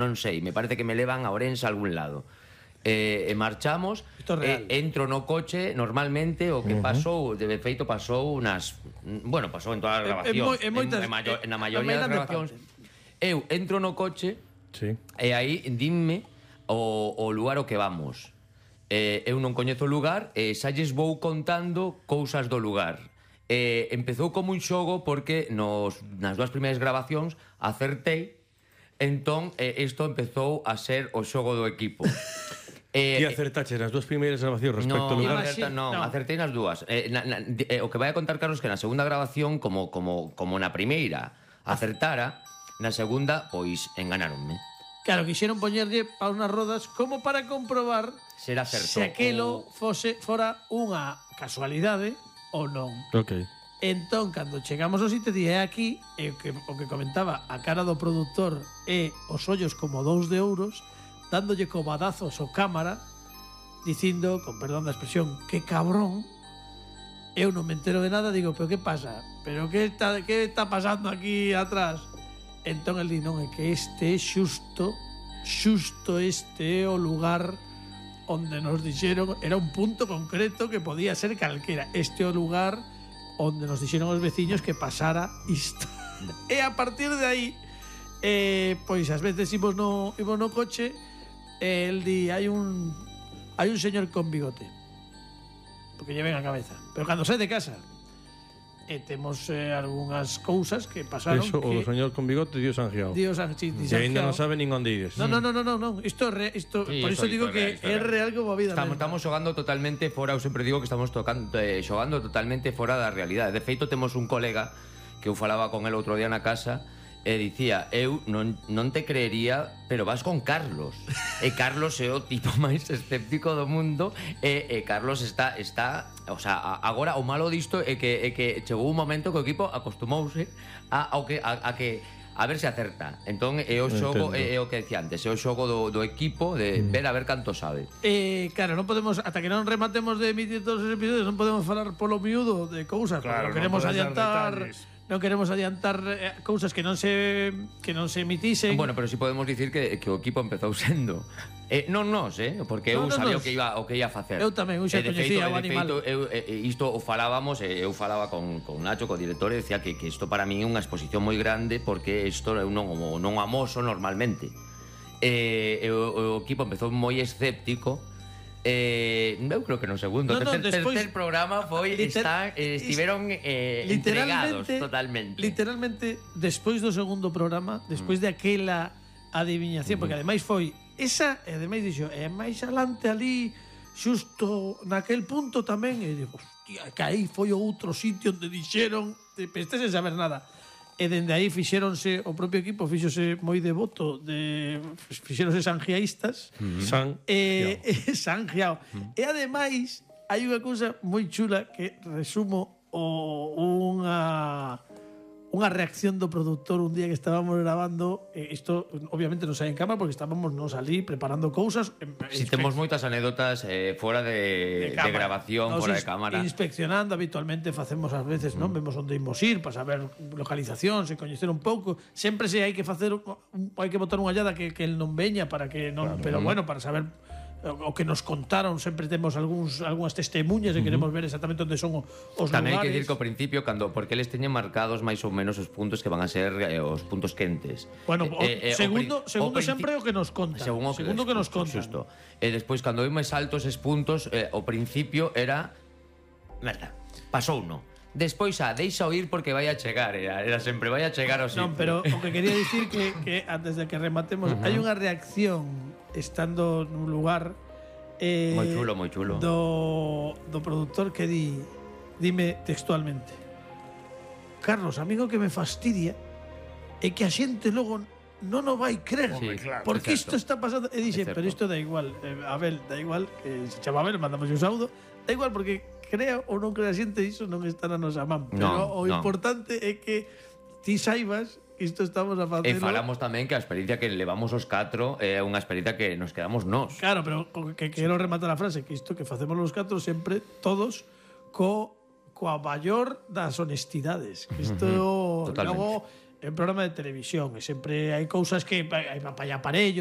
non sei, me parece que me levan a Ourense a algún lado. E marchamos, entro no coche normalmente, o que pasou, de feito pasou unas, bueno, pasou en todas as grabacións, na maioría das grabacións. Eu entro no coche e aí dinme o lugar ao que vamos. Eu non coñezo o lugar e xa lles vou contando cousas do lugar. Empezou como un xogo porque nas dúas primeiras grabacións acertei, entón isto empezou a ser o xogo do equipo. Ti acertache nas dúas primeiras grabacións respecto ao lugar? Non, acertei nas dúas. O que vai a contar Carlos que na segunda grabación, como na primeira acertara, na segunda, pois, enganáronme. Claro, quixeron poñerlle paus nas rodas como para comprobar se aquelo fora unha casualidade ou non. Entón, cando chegamos ao sitio, dije aquí, o que comentaba, a cara do produtor e os ollos como 2 de ouros, dándolle cobadazos ao cámara, dicindo, con perdón da expresión, que cabrón. Eu non me entero de nada, digo, pero que pasa? Pero que está pasando aquí atrás? Entón el di, non, é que este é xusto este é o lugar onde nos dixeron, era un punto concreto que podía ser calquera, este é o lugar onde nos dixeron os veciños que pasara isto. E a partir de aí, pois ás veces imos no coche, el di, hai un señor con bigote, porque lle ven a cabeza, pero cando sai de casa temos algunhas cousas que pasaron. Eso, o do señor con bigote, Dios angiao. Dios angiao. E ainda non sabe nin onde ides. No. Isto por iso digo que é real como a vida. Estamos xogando totalmente fora, eu sempre digo que estamos xogando totalmente fora da realidade. De feito, temos un colega que eu falaba con el outro día na casa e dicía, eu non te creería, pero vas con Carlos. E Carlos é o tipo máis escéptico do mundo e Carlos está, o sea, agora o malo disto é que chegou un momento que o equipo acostumouse a ver se acerta. Entón é o xogo, é o que decía antes, é o xogo do equipo de ver a ver canto sabe. Claro, non podemos, ata que non rematemos de emitir todos os episodios, non podemos falar polo miúdo de cousas, claro, non queremos adiantar. Non queremos adiantar cousas que non se emitisen. Bueno, pero si podemos dicir que o equipo empezou sendo non nos, porque eu sabía o que ia facer. Eu tamén, eu xa coñecía o animal. Isto o falábamos, eu falaba con Nacho, co director, e decía que isto para mí é unha exposición moi grande, porque isto eu non amoso normalmente. O equipo empezou moi escéptico. Eu creo que no segundo tercer programa foi estiveron entregados totalmente. Literalmente, despois do segundo programa, despois de aquela adiviñación, porque ademais foi esa, e ademais dixo, e máis alante ali, xusto naquel punto tamén, e digo, hostia, que aí foi outro sitio onde dixeron, este sen saber nada. E dende aí fixéronse, o propio equipo fixose moi devoto, fixéronse sangiaístas. Sangiao. E ademais, hai unha cousa moi chula que resumo unha reacción do produtor un día que estábamos grabando. Isto obviamente non sai en cámara porque estábamos nos ali preparando cousas. Si temos moitas anécdotas fora de grabación, fora de cámara. Inspeccionando habitualmente facemos ás veces, non? Vemos onde imos ir para saber localización, se coñecer un pouco. Sempre se hai que facer, hai que botar unha llada que el non veña para que non, claro, pero bueno, para saber o que nos contaron, sempre temos algunhas testemunhas e queremos ver exactamente onde son os tamén lugares. Hai que dicir que ao principio, porque eles teñen marcados máis ou menos os puntos que van a ser os puntos quentes. Bueno, segundo sempre o que nos contan. Segundo que nos contan. Xusto. E despois, cando vimos altos esos puntos, ao principio era merda, pasou no. Despois deixa oír porque vai a chegar, era sempre vai a chegar ao sitio. Non, pero o que quería dicir que antes de que rematemos, hai unha reacción estando nun lugar moi chulo do produtor que dime textualmente: Carlos, amigo, que me fastidia é que a xente logo non o vai crer, porque isto está pasando. E dixe, pero isto da igual, Abel, da igual, que se chama Abel, mandamos un saúdo, da igual, porque crea ou non crea xente, iso non está na nosa man. Pero o importante é que ti saibas que isto estamos a facelo. E falamos tamén que a experiencia que levamos os 4 é unha experiencia que nos quedamos nós. Claro, pero que quero rematar a frase, que isto que facemos os 4 sempre, todos, coa maior das honestidades. Que isto logo é un programa de televisión e sempre hai cousas que hai para aparello